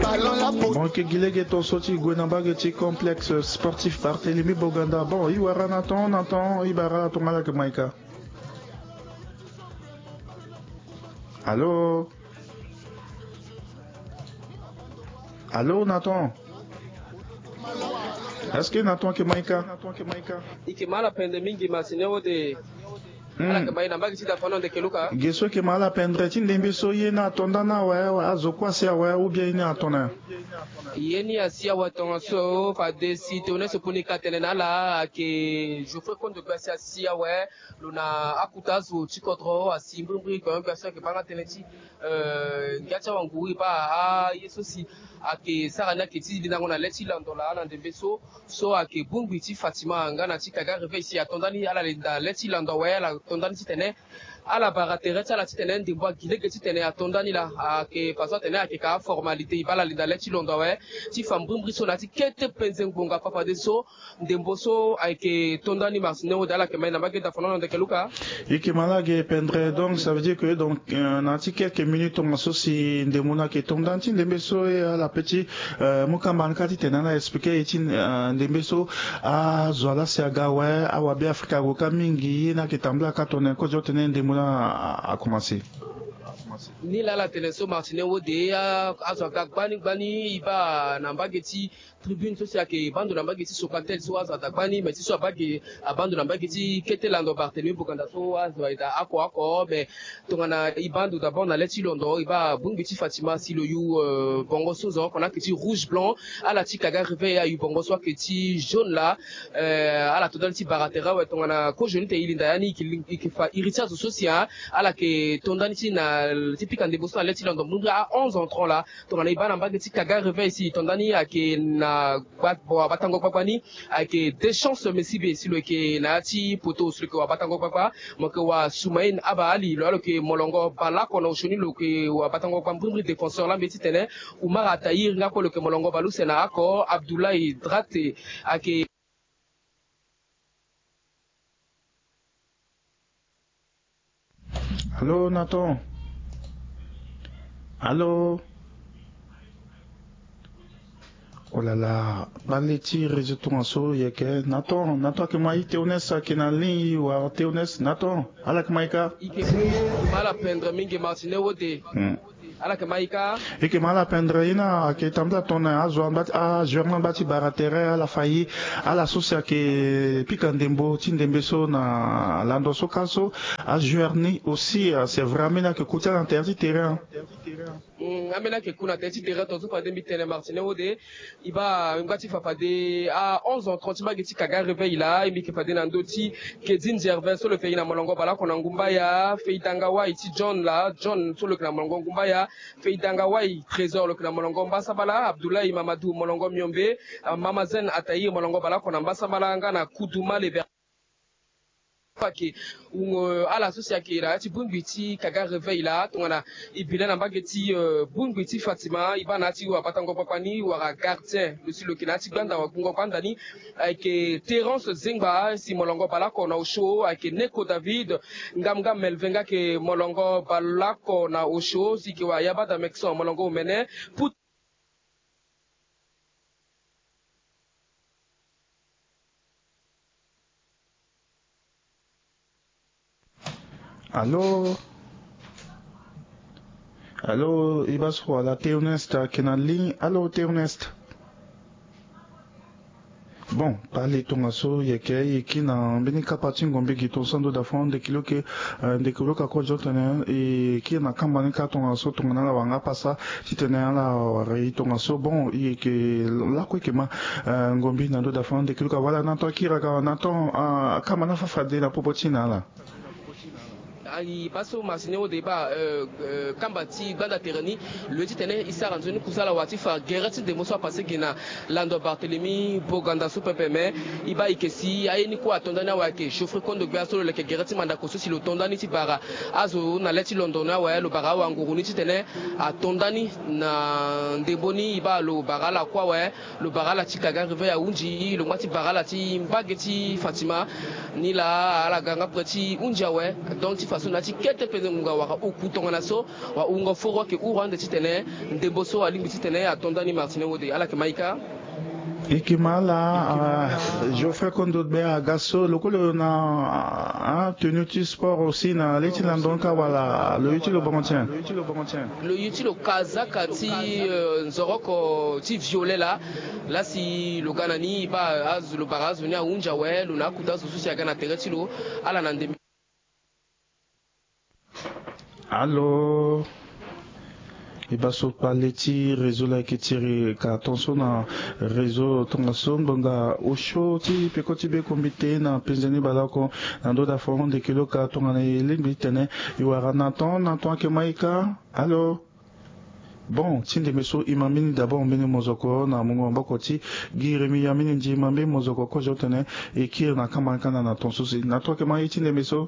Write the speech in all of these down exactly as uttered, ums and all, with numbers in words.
Bon, e ke gi lege ton so ti gue na mbage ti complexe sportif Barthélemy Boganda. Bon, e wara na ton na ton, e bara ala tongana ala yeke ma e ka. Allô? Allô, Nathan? Est-ce que Nathan yeke ma e ka? E ke ma ala pendre mingi, Martine Ode. Hmm. Ala yeke ma e na mbage ti dafa na ndeke Luka. Ge so e ke ma ala pendre ti ndembe so ye ni ato nda ni awe, awe, azo kue asi awe, ou bien ye ni ato na? Ye ni asi awe tongaso, fade si tongana so poni ka tene na ala ayeke Geoffrey Kondo Gbia asi awe. Lo na akuta azo ti kodro asi mbrimbri, gbia so ayeke baa nga tënë ti, eh, ngia ti awanguru e baa aye so si ayeke sara ni ayeke ti lindango na le ti lando laa na ndembe so, so ayeke bongbi ti Fatima nga na ti Kaga Réveil si ato nda ni ala linda le ti lando awe, ala to nda ni titene ala bara tere ti ala titene ndembo agi lege titene ato nda ni laa. Ayeke façon atene ayeke ka formalité, e baa ala linda le ti lando awe ti fa mbrimbri so na ya ti kete penze ngbonga fafadeso. Ndembo so ayeke to nda ni, Martine Ode, ala yeke ma e na mbage dafa na ndeke Luka. E ke ma ala ge pendre, donc ça veut dire que donc, euh, na ya ti quelques minutes tongaso si ndembo ni ayeke to nda ni ti ndembe so, e ala pe ti, euh, mu kamba ni kâ titene ala expliquer e ti, euh, ndembe so azo ala si aga awe, awabe Afrika ague kâ mingi, ye ni ayeke tambula kâ tongana kozo tene ndembo ni a, a, a commencer. Ni laa ala tene so, Martine Ode, a, azo aga gbani gbani, e baa na mbage ti tribune so si ayeke baa ndo na mbage ti Sokatel so azo ada gbani, mais ti so abaa ge, abaa ndo na mbage ti kete lando Barthélemy Boganda so azo ayeke daa oko oko, mais tongana e baa ndo d'abord na le ti londo, e baa bongbi ti Fatima si lo yu, euh, bongo so zo oko ni ayeke ti rouge blanc, ala ti Kaga Réveil ayu bongo so ayeke ti jaune laa, euh, ala to nda ni ti bara tere awe tongana kozo ni tene e linda ya ni, e ke fa iri ti azo so si, ah, ala yeke to nda ni ti na, ti pika ndembo so na le ti londo mbrimbri a onze entrant laa. Tongana e baa na mbage ti Kaga Réveil si e to nda ni ayeke na gba, wabatango gbagba ni ayeke Deschamps Mesibe si lo yeke na ya ti poto si lo yeke wabatango gbagba. Mo yeke wa Soumaïn Abba Ali, lo ya lo yeke molongo bale oko na osio ni, lo yeke wabatango gbagba mbrimbri, défenseur, la mbi ye titene Oumar Attahir nga kue lo yeke molongo bale use na oko, Abdoulaye Drate ayeke Allô, Nathan? Allô? Oh là là, bale ti réseau tongaso yeke. Nathan, Nathan ayeke ma e? Théoneste ayeke na ligne, wa Théoneste, Nathan, ala yeke ma e ka? E ke ma ala pendre mingi, Martine Ode. Hmm. Ala yeke ma e ka? E ke ma ala pendre, ye ni ayeke tambula tongana azo angba ti, ajoueur ni angba ti bara tere, ala fa e, ala so si ayeke pika ndembo ti ndembe so na lando so kâ so, ajoueur ni aussi, ah, c'est vrai, ambeni ayeke ku ti ala na tere ti terrain. Hmm, ambeni ayeke ku na tere ti terrain tongaso fade mbi tene, Martine Ode. E baa ngba ti fa fade a onze heures trente ti mbage ti Kaga Réveil laa, e mbi yeke fade na ndö ti Kedin Gervais so lo yeke na molongo bale oko na ngumbaya, Feidanga Wai ti John laa, John so lo yeke na molongo ngumbaya, Feidanga Wai Trésor lo yeke na molongo mbasambala, Abdoulaye Mamadou molongo miombe, ah, Mama Zen Attahir molongo bale oko na mbasambala nga na Koudouma Leber. Fa ke, euh, ala so si ayeke na ya ti bongbi ti Kaga Réveil laa, tongana e bi le na mbage ti, euh, bongbi ti Fatima, e baa na ya ti wabatango gbagba ni wala gardien, lo si lo yeke na ya ti gbanda wagbungo gbanda ni, ayeke Terence Zengba si molongo bale oko na osio, ayeke Neko David, Ngam Ngam Melvin nga ayeke molongo bale oko na osio, si yeke wa Yabada Mekson molongo omene, Put- Allô? Allô, e baa so wala Théoneste ayeke na ligne. Allô, Théoneste? Bon, pale tongaso yeke, e kiri na mbeni kapa ti ngombe gi tongaso ando da fon ndeke lo yeke, eh, ndeke lo ka ko zo tene, e kiri na kamba ni kâ tongaso tongana ala wara nga pasa titene ala wara e tongaso. Bon, e yeke lakue e yeke ma, eh, ngombe na ndo da fon ndeke lo ka wala na to akiri aga na to, ah, kamba ni afa fade na popo ti na ala. Ayi, baa so Martine Ode, e baa, euh, euh, kamba ti gbanda tere ni, lo ye titene e sara nzoni kusala wa ti fa gere ti ndembo so apase gi na lando Barthélemy Boganda so pepe, me e baa e yeke si aye ni kue ato nda ni awe, ayeke Geoffrey Kondo Gbia so lo leke gere ti mandako so si lo to nda ni ti bara azo na le ti londo ni awe, lo bara awanguru ni titene ato nda ni na ndembo ni, e baa lo bara ala kue awe. Lo bara ala ti Kaga Réveil ahunzi, lo ngba ti bara ala ti mbage ti Fatima. Ni laa ala ga nga prêt ti hunzi awe. Donc ti fa So na ya ti kete pene ngonga wala oku tongana so, wala wungo foro ayeke huru ande titene ndembo so alingbi titene ato ndani. Martine Wode, ala yeke ma ika. Yeke ma ala, ah, Geoffrey Kondo Gbia aga so, lo kue lo na, ah, tenue ti sport aussi na le ti lando ni ka wala lo ye ti lo bongo tien? Lo ye ti lo kazaka ti, euh, nzoroko ti violet laa. Laa si lo ga na ni, e baa azo, lo bara azo ni ahunzi awe, lo na akuta azo so si aga na tere ti lo. Ala na ndembe. Allô? E baa so kpale ti réseau laa ayeke tiri ka ton so na réseau tongaso ngbonga osio ti peko ti be kombite na penze ni baleoko na ndö da fo ndeke lo ka tongana e lingbi tene e wara na ton na ton ayeke ma ika. Allô? Bon, ti ndembe so e ma mbeni d'abord mbeni mozoko na mungo maboko ti Guy Rémy Yamini Ndima, mbeni mozoko kozo tene e kiri na kamba ni kanda na ton so si na ton ayeke ma ye ti ndembe so.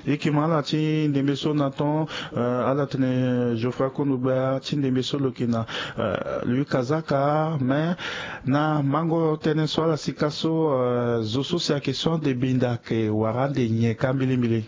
E yeke ma ala ti ndembe so na ton, euh, ala tene Geoffrey Kondo Gbia ti ndembe so lo yeke na, euh, Louis Kazaka, mais na mango tënë so ala sika so, euh, zo so si ayeke so ande benda ayeke wara ande nyen ka mbilimbili?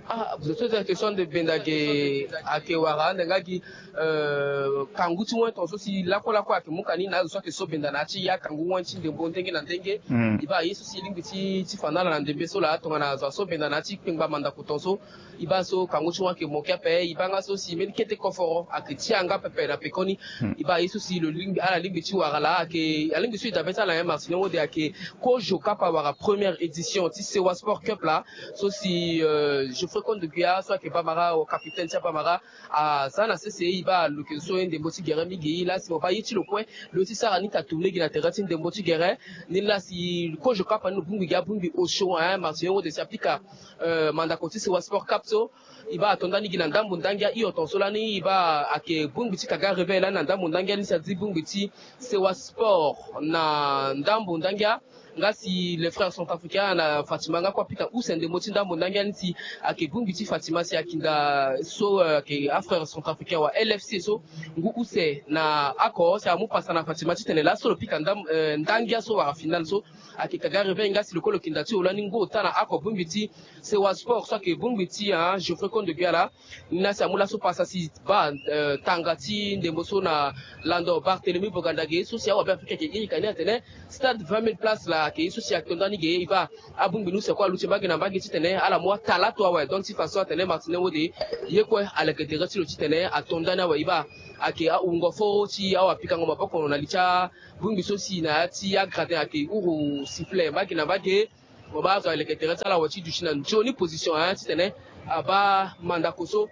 Ah, zo so si ayeke so ande benda ayeke, ayeke wara ande nga gi, euh, kangu ti wen ton so si lakue lakue ayeke mu ka ni na azo so ayeke so benda na ya ti ya kangu wen ti ndembo ndenge na ndenge. Mm. E baa ye so si e lingbi ti, ti fa na ala na ndembe so laa tongana azo aso benda na ya ti kpengba mandako ton so. E baa so kangu ti wen ayeke moke ape, e baa nga so si mbeni kete koforo ayeke ti yanga pepe na pekoni. Hmm. E baa ye so si lo lingbi, ala lingbi ti wara laa ayeke, alingbi so e dabe ti ala nyen Martine Wode, ayeke kozo kapa wala première édition ti Sewa Sport Cup laa. So si, euh, Geoffrey Kondo Gbia so ayeke bamara, capitaine ti abamara, aza na sese. E baa lo yeke so ye ndembo ti gere mingi. Laa si mo baa ye ti lo kue lo ti sara ni ka tourné gi na tere ti ndembo ti gere. Ni laa si kozo kapa ni lo bongbi gi abongbi osio, hein, Martine Wode, si apika, euh, mandako ti Sewa Sport Cup so. E baa ato ndani gi na ndambo ndangia hio ton so lani. E baa ayeke bongbi ti Kaga Réveil lani na ndambo ndangia ni si azi bongbi ti Sewa Sport na ndambo ndangia. Nga si les frères centrafricains na Fatima nga kue apika use ndembo ti ndambo ndangia ni si ayeke bongbi ti Fatima si akinda so, euh, ayeke afrères centrafricains wa L F C so ngu use na oko si amu pasa na Fatima titene laso lo pika ndam, euh, ndangia so wala finale so. Ayeke Kaga Réveil nga si lo kue lo kinda ti lo lani ngu ota na oko bongbi ti Sewa Sport so ayeke bongbi ti, ah, Geoffrey Kondo Gbia laa. Ni laa si amu laso pasa si baa, euh, tanga ti ndembo so na lando Barthélemy Boganda ge so si awabe Afrika ayeke iri ka ni atene stade vingt mille places laa ayeke ye so si ato ndani ge. E baa abongbi ni use kue aluti mbage na mbage titene ala mu atalato awe. Donc ti façon atene Martine Wode ye kue aleke tere ti lo titene ato ndani awe. E baa ayeke ahungo foro ti awapikango maboko na li ti abongbi so si na ya ti agradin ayeke huru sifflet mbage na mbage. Mo baa azo aleke tere ti ala awe ti duti na nzoni position, hein, titene abaa mandako so.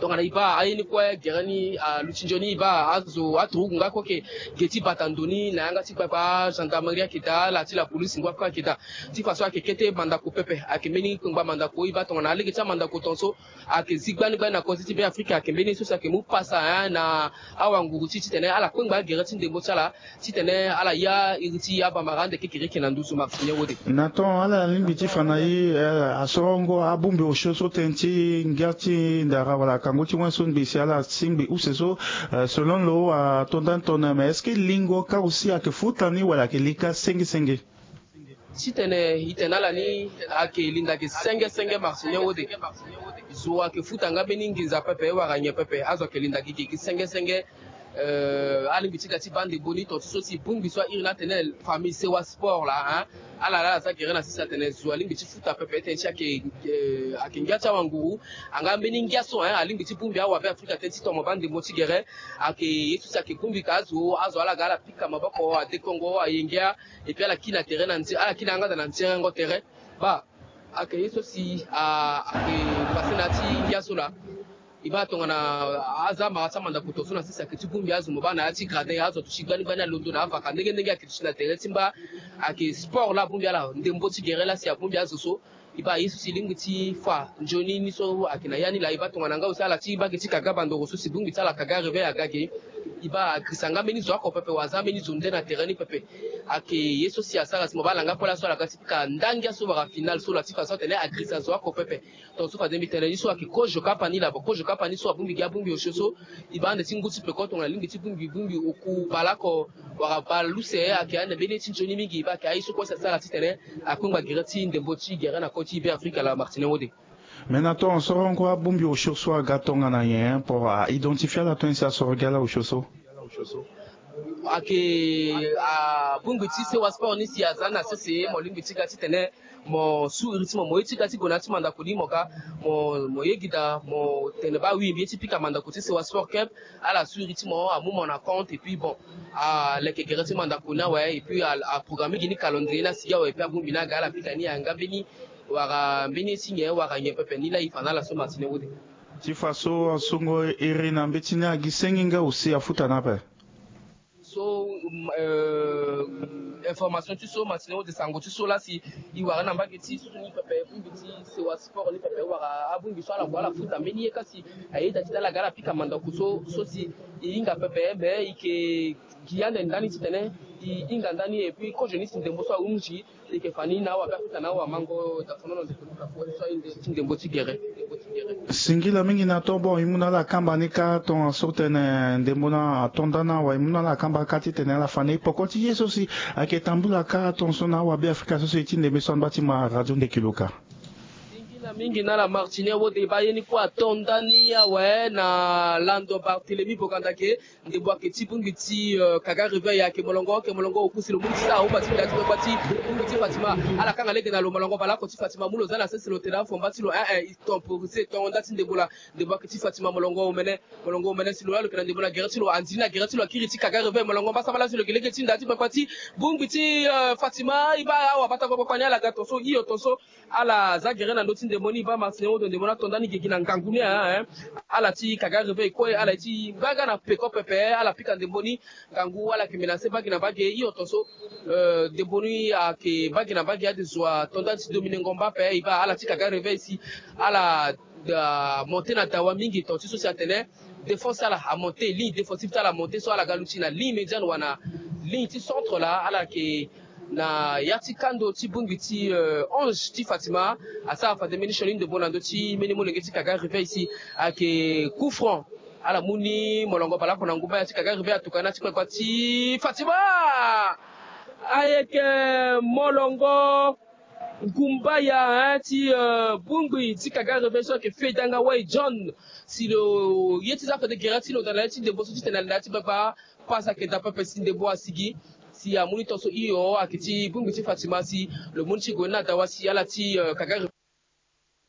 Tongana e baa aye ni kue gere ni aluti nzoni, e baa azo aturugu nga kue ayeke ge ti bata ndo ni na yanga ti gbagba gendarmerie ayeke daa, ala ti la police ngba kue ayeke daa. Ti façon ayeke kete mandako pepe, ayeke mbeni kpengba mandako. E baa tongana alege ti amandako ton so ayeke zi gbani gbani na kozi ti Beafrika, ayeke mbeni ye so si ayeke mu pasa, hein, na awanguru ti titene ala kpengba agere ti ndembo ti ala. Titene ala ya iri ti abamara ande kekereke na nduzu Martine Wode. Na ton ala lingbi ti fa na e, eh, asorongo abongbi osio so tënë ti ngia ti ndara wala kangu ti wen so ngbe si ala ti ngbe use so, eh, selon lo ato ndani tongana, mais est-ce que lingo ka aussi ayeke futa ni wala ayeke lika senge senge? Titene e tene na ala ni ayeke linda ge senge senge Martine Wode. Zo ayeke futa nga mbeni nginza pepe wala nyen pepe, azo ayeke linda ge ge senge senge. Euh, alingbi ti ga ti baa ndembo ni tongaso si bongbi so airi ni atene famille Sewa Sport laa, hein. Ala laa aza gere na sese atene zo alingbi ti futa pepe tënë ti ayeke, euh, ayeke ngia ti awanguru. Anga mbeni ngia so, hein, alingbi ti bongbi awabe Afrika tënë ti tomo baa ndembo ti gere. Ayeke ye so si ayeke bongbi ka azo, azo ala ga ala pika maboko, adekongo, ayengia. Et puis ala kiri na tere na nze, ala kiri na yanga daa na nzerengo tere. Baa ayeke ye so si, ah, ayeke pase na ya ti ngia so laa. E baa tongana aza amara ti amandako tongaso na sese ayeke ti bongbi azo mo baa na ya ti gradin azo aduti gbani gbani alondo na avaka ndenge ndenge ayeke duti na tere ti mba. Ayeke sport laa abongbi ala, ndembo ti gere laa si abongbi azo so. E baa ye so si e lingbi ti fa nzoni ni so ayeke na ya ni laa. E baa tongana nga aussi ala ti mbage ti Kaga Bandoro so si bongbi ti ala Kaga Réveil aga ge. E baa agirisa nga mbeni zo oko pepe wala aza mbeni zo nde na tere ni pepe. Ayeke ye so si asara si mo baa alanga kue laso ala ga ti pika ndangia so wala final so la ti fa so atene agrisa zo oko pepe. Tongaso fade mbi tene ni so ayeke kozo kapa ni laa. Bon, kozo kapa ni so abongbi gi abongbi osio so e baa ande ti ngu ti peko tongana lingbi ti bongbi bongbi oku baleoko wala baleuse ayeke ande mbeni ye ti nzoni mingi. E baa ayeke aye so kue si asara titene akpengba gere ti ndembo ti gere na kota ti Beafrika laa, Martine Wode. Mais na tongaso rongo abongbi osio so aga tongana nyen po a identifier ala tongana si asoro gi ala osio so? Ayeke abongbi ti Sewa Sport ni si aza na sese, mo lingbi ti ga titene mo su iri ti mo, mo ye ti ga ti gue na ya ti mandako ni, mo ga, mo, mo ye gi daa, mo tene baa oui, mbi ye ti pika mandako ti Sewa Sport Cup. Ala su iri ti mo, amu mo na compte, et puis bon, aleke gere ti mandako ni awe, et puis a, aprogrammer gi ni calendrier ni asigi awe, et puis abongbi ni aga ala pika ni, ayanga mbeni wara mbeni ye ti nyen wara nyen pepe ni laa e fa na ala so, Martine Wode. Ti fa so asongo iri na mbeti ni agi senge nga aussi afuta ni ape. So, euh, information ti so, Martine Wode, sango ti so laa si e wara na mbage ti so ni pepe, bongbi ti Sewa Sport ni pepe wara abongbi so ala kue ala futa mbeni ye kasi ayeda ti ala ga ala pika mandako so, so si e hinga pepe, mais e yeke gi ande ndani titene e hinga ndani, et puis kozo ni si ndembo so ahunzi, e yeke fa ni na awabe afuta na awamango. Dafono na ndeko luka fo so aye nde ti ndembo ti gere. Singila mingi na to. Bon, e mu na ala kamba ni kâ tongaso tene ndembo na ato nda ni awe, e mu na ala kamba kâ titene ala fa na e poko ti ye so si ayeke tambula kâ tongaso na awabe Afrika so si e ti ndembe so angba ti ma radio ndeki luka. Singila mingi na ala Martine Wode. Baa ye ni kue ato nda ni awe na lando Barthélemy Bogandake. Ndembo ayeke ti bongbi ti, euh, Kaga Réveil, ayeke molongo, ayeke molongo, oku si lo mu ni ti sara ahomba ti nda ti kpakpa ti bongbi ti Fatima. Ala kanga lege na lo, molongo baleoko ti Fatima, mu lo za na sese lo tene afomba ti lo, eh, eh, e temporisé tongo nda ti ndembo laa. Ndembo ayeke ti Fatima, molongo omene, molongo omene si lo laa lo yeke na ndembo na gere ti lo, andi ni na gere ti lo, akiri ti Kaga Réveil, molongo mbasambala si lo yeke lege ti nda ti kpakpa ti bongbi ti, euh, Fatima. E baa awa bata kpakpa ni ala ga tongaso, hio tongaso. Ala za gere na ndö ti ndembo ni, e baa Martine Wode, ndembo ni ato nda ni gigi na ngangu ni, eh, eh. Ala ti Kaga Réveil kue, ala ye ti gbaga na peko pepe, ala pika ndembo ni, ngangu, ala yeke menacé mbage na mbage, hio tongaso, euh, ndembo ni ayeke mbage na mbage, ade zo ato nda ti domine ngomba ape, e baa ala ti Kaga Réveil si ala, euh, monté na dawa mingi, tonga ti so si atene défense ti ala amonté, ligne défensive ti ala amonté, so ala ga luti na ligne médiane wala ligne ti centre laa, ala yeke na ya ti kando ti bongbi ti, euh, Ange ti Fatima. Asara fade mbeni sioni ndembo na ndö ti mbeni molenge ti Kaga Réveil si ayeke coup franc. Ala mu ni molongo baleoko na nguba ya ti Kaga Réveil, atuka na ya ti kpakpa ti Fatima. Ayeke molongo nguba ya, hein, ti, euh, bongbi ti Kaga Réveil so ayeke Fedanga Wai John. Si lo ye ti za fade gere ti lo na ya ti ndembo so titene ala na ya ti gbagba. Pasa ayeke daa pepe si ndembo asigi. Si amu ni tongaso hio, ayeke ti bongbi ti Fatima si lo mu ni ti gue ni na dawa si ala ti, euh, Kaga